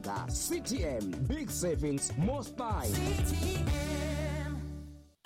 Muganga. CTM, big savings, more style.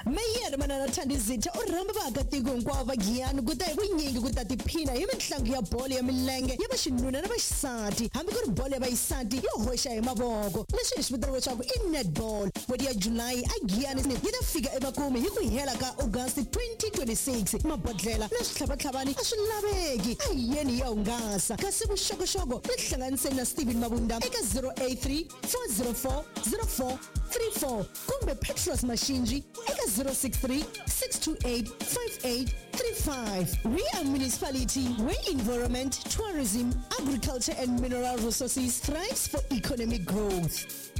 Meyere Manana Thandizitha u rhamba vaakatiko hinkwavo va Giyani ku ta hi vunyingi ku ta tiphina hi mitlangu ya bolo ya milenge ya vaxinuna na vaxisati, hambi ku ri bolo ya vaxisati yo hoxa hi mavoko, leswi hi swi vitanaka leswaku i netball. N'hweti ya July a Giyani yi ta fika emakumu hi ku hela ka August 2026. Mabodlhela na switlhavatlhavani a swi laveki, a hi yeni hi ya hungasa. Kasi vuxokoxoko tihlanganiseni na Steven Mabunda eka 083 404 0434 kumbe Petros Mashinji eka 063 628 5835. We are municipality where environment, tourism, agriculture and mineral resources thrives for economic growth.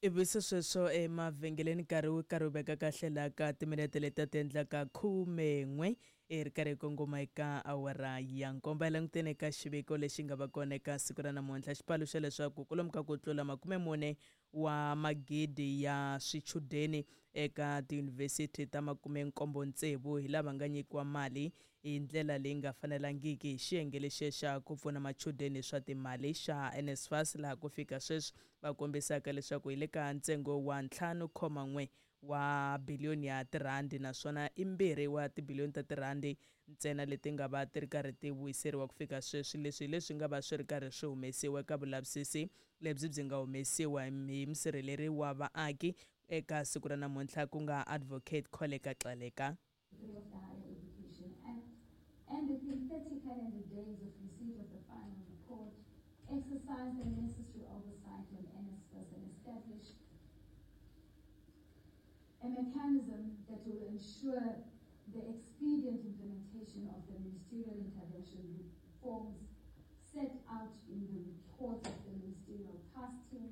Ivi se sweswo emavhengeleni nkarhi wu karhi wu veka kahle laha ka timinete leti ti endlaka 11 i ri karhi hi kongoma eka awara ya nkombo. Hi languteni eka xiviko lexi nga va kona eka siku ra namuntlha, xi paluxa leswaku kwalomu ka ku tlula 40 wa magidi ya swichudeni eka tiyunivhesiti ta 76 hi lava nga nyikiwa mali hi ndlela leyi nga fanelangiki hi xiyenge lexiya xa ku pfuna machudeni hi swa timali xa NSFAS, laha ku fika sweswi va kombisaka leswaku hi le ka ntsengo wa 5.1 wa biliyoni ya tirhandi, naswona i 2 wa tibiliyoni ta tirhandi ntsena leti nga va ti ri karhi ti vuyiseriwa ku fika sweswi. Leswi hi leswi nga va swi ri karhi swi humesiwa eka vulavisisi lebyi byi nga humesiwa hi musirheleri wa vaaki eka siku ra namuntlha, ku nga Advocate Kholeka Gcaleka. Of the Higher Education Act, and within 30 calendar days of receipt of the final report, exercise the necessary oversight on NSFAS and establish a mechanism that will ensure the expedient implementation of the ministerial intervention reforms set out in the report of the Ministerial Task Team,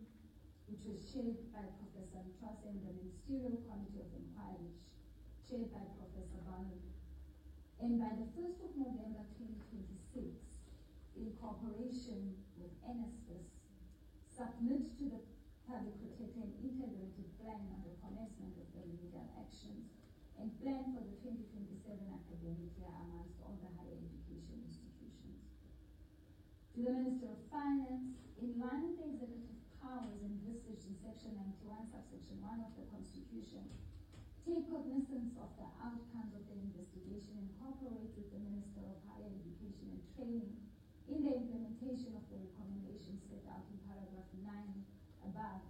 which was chaired by Professor Ntwasa, and the Ministerial Committee of Inquiry, chaired by Professor Barnard. And by the 1st of November 2026, in cooperation with NSFAS, submit to the Public Protector an integrated plan on the commencement of the remedial actions and plan for the 2027 academic year amongst all the higher education institutions. To the Minister of Finance, in line with the executive powers envisaged in Section 91, subsection 1 of the Constitution, take cognizance of the outcomes of the investigation and cooperate with the Minister of Higher Education and Training in the implementation of the recommendations set out in paragraph 9 above,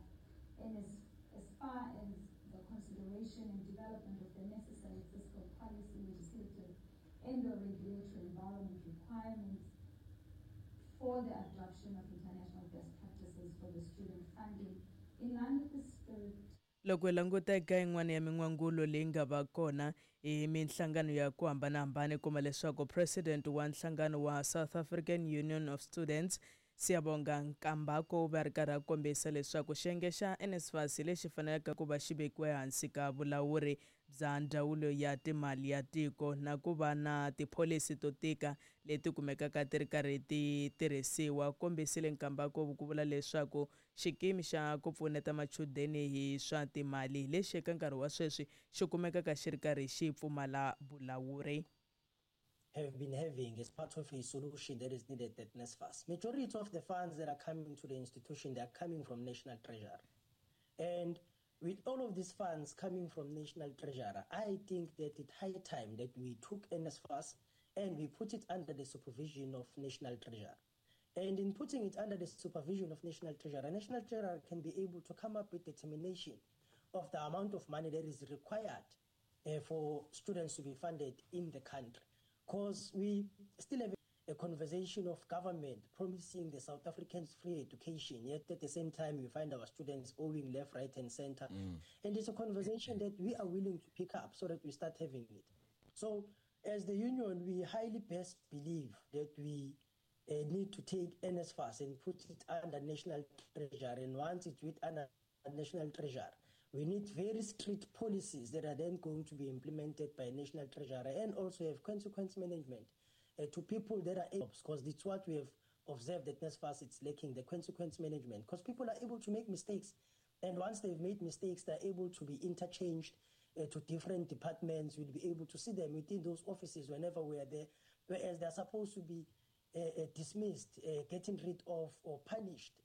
and as far as the consideration and development of the necessary fiscal policy, legislative, and the regulatory environment requirements for the adoption of international best practices for the student funding in line with the spirit. Loko hi languta eka yin'wana ya min'wangulo leyi nga va kona hi minhlangano ya ku hambanahambana, hi kuma leswaku president wa nhlangano wa South African Union of Students, Siyabonga Nkambako, u va ri karhi a kombisa leswaku xiyenge xa NSFAS lexi faneleke ku va xi vekiwe hansi ka vulawuri bya ndzawulo ya timali ya tiko na ku va na tipholisi to tika leti kumekaka ti ri karhi ti tirhisiwa. Kombisile Nkambako ku vula leswaku xikimi xa ku pfuneta machudeni hi swa timali lexi eka nkarhi wa sweswi xi kumekaka xi ri karhi xi pfumala vulawuri. Have been having as part of a solution that is needed at NSFAS. Majority of the funds that are coming to the institution, they are coming from National Treasury. And with all of these funds coming from National Treasury, I think that it's high time that we took NSFAS and we put it under the supervision of National Treasury. And in putting it under the supervision of National Treasury, National Treasury can be able to come up with determination of the amount of money that is required for students to be funded in the country. Because we still have a conversation of government promising the South Africans free education, yet at the same time we find our students owing left, right and center. And it's a conversation that we are willing to pick up so that we start having it. So as the union, we highly best believe that we need to take NSFAS and put it under National Treasury. And once it's with under National Treasury, we need very strict policies that are then going to be implemented by National Treasury, and also have consequence management to people that are able, because it's what we have observed at NSFAS, it's lacking, the consequence management, because people are able to make mistakes. And once they've made mistakes, they're able to be interchanged to different departments. We'll be able to see them within those offices whenever we are there, whereas they're supposed to be dismissed, getting rid of or punished.